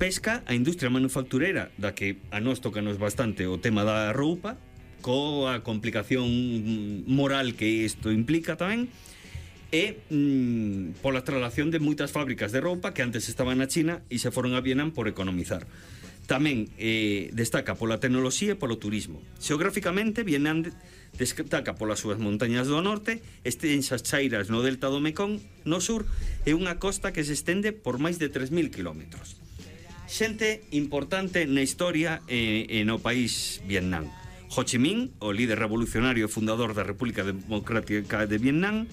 pesca, a industria manufacturera, da que a nós tocanos bastante o tema da roupa, coa complicación moral que isto implica tamén, e pola traslación de moitas fábricas de roupa que antes estaban na China e se foron a Vietnam por economizar. Tamén destaca pola tecnoloxía e polo turismo. Xeográficamente, Vietnam destaca polas súas montañas do norte, extensas chairas no delta do Mekong no sur e unha costa que se estende por máis de 3.000 kilómetros. Xente importante na historia e no país Vietnam. Ho Chi Minh, o líder revolucionario e fundador da República Democrática de Vietnam.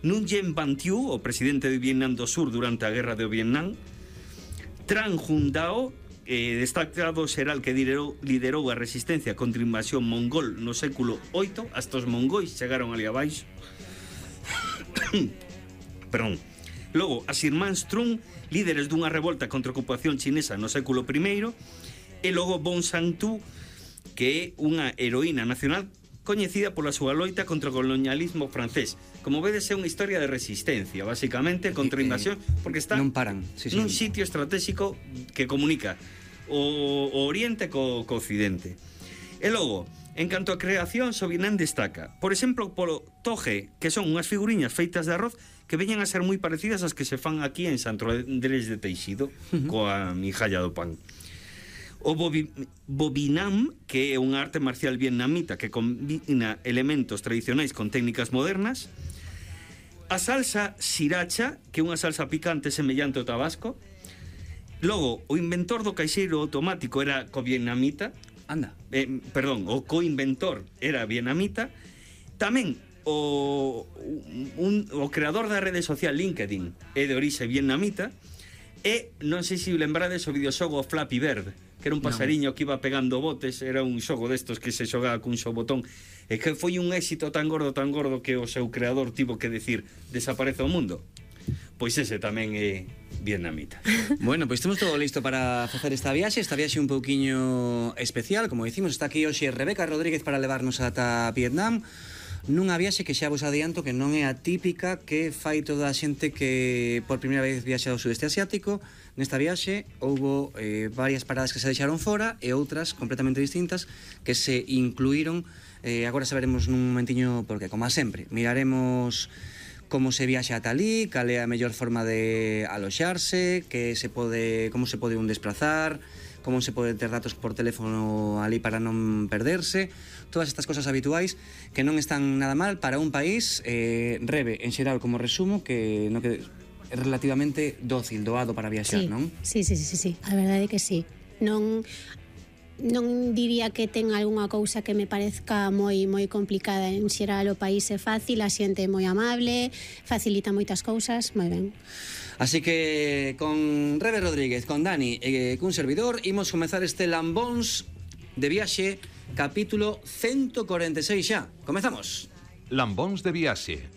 Nguyen Van Thieu, o presidente de Vietnam do Sur durante a Guerra de Vietnam. Tran Hun Dao, destacado xeral que liderou a resistencia contra a invasión mongol no século VIII, hasta os mongóis chegaron ali abaixo. Perdón. Logo, as irmáns Trung, líderes dunha revolta contra a ocupación chinesa no século I, e logo Bon Sang-tu, que é unha heroína nacional coñecida pola súa loita contra o colonialismo francés. Como vedes, é unha historia de resistencia, basicamente, contra a invasión, porque está non paran. nun sitio estratégico que comunica o Oriente co Occidente. E logo, en canto a creación, Vietnam destaca, por exemplo, polo toge, que son unhas figuriñas feitas de arroz que veñen a ser moi parecidas ás que se fan aquí en Santo Andrés de Teixido, coa mijalla do pan. O Bobinam, que é unha arte marcial vietnamita que combina elementos tradicionais con técnicas modernas. A salsa sriracha, que é unha salsa picante semellante ao tabasco. Logo, o inventor do caixeiro automático era co-vietnamita. Anda. Perdón, o co-inventor era vietnamita. Tamén o creador da rede social LinkedIn é de orixe vietnamita. E non sei se lembrades o videoxogo Flappy Bird, que era un pasariño que iba pegando botes. Era un xogo destos que se xogaba cun só botón e que foi un éxito tan gordo que o seu creador tivo que decir desaparece o mundo. Pois ese tamén é vietnamita. Bueno, pois temos todo listo para facer esta viaxe un pouquiño especial. Como dicimos, está aquí hoxe Rebeca Rodríguez para levarnos ata Vietnam, nunha viaxe que xa vos adianto que non é a típica que fai toda a xente que por primeira vez viaxa ao sudeste asiático. Nesta viaxe houbo varias paradas que se deixaron fora e outras completamente distintas que se incluíron. Agora saberemos nun momentiño porque, como a sempre, miraremos como se viaxa ata ali, cal é a mellor forma de aloxarse, como se pode un desplazar, como se pode ter datos por teléfono ali para non perderse, todas estas cosas habituais que non están nada mal para un país, Rebe, en xeral, como resumo, que é relativamente dócil, doado para viaxar, non? Sí, a verdade é que sí. Non diría que ten algunha cousa que me parezca moi complicada. En xeral o país é fácil, a xente é moi amable, facilita moitas cousas, moi ben. Así que con Rebe Rodríguez, con Dani e cun servidor imos comezar este Lambóns de viaxe, capítulo 146 xa. Comezamos. Lambóns de viaxe.